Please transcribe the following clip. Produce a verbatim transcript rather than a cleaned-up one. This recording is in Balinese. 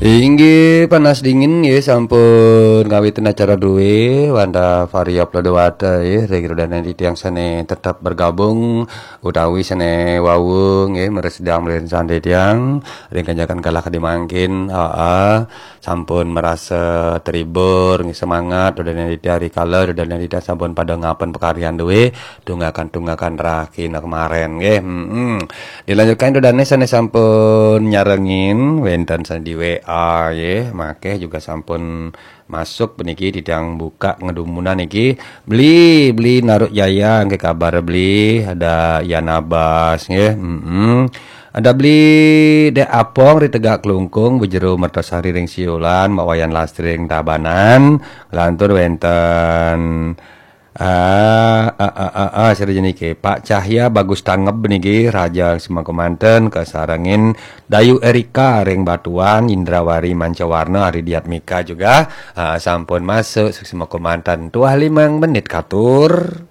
Inggih panas dingin nggih sampun ngawitin acara duwe wanda Varia Plodowata nggih ring rudane titiang sane tetep bergabung utawi sane wau nggih mresidang mlirin sane titiang ring kanyakan kalah kadi mangkin. Aa, sampun merasa terhibur nggih semangat rudane titiang rikala rudane titiang sampun pada ngapen pakaryan duwe tunggakan-tunggakan rahina kemaren nggih. Hmm. Dilanjutkan rudane sane sampun nyarengin wenten sane di W A nggih, makeh juga sampun masuk puniki titiang buka ngedumunan niki. Beli, beli Naruk Jaya nggih kabar beli, ada Yan Abbas nggih. Hmm. Ada beli Dek Apong ri Tegak Klungkung, Bu Jero Mertasari ring Siulan, Mak Wayan Lastri ring Tabanan, lantur wenten Ah, ah, ah, ah, ah, sira jenike Pak Cahya Bagus Tangeb niki Raja Semangku Manten kasarengin Dayu Erika ring Batuan, Indrawari Mancawarna, Ari Diatmika juga ah, sampun masuk Semangku Manten. Tuah limang menit katur.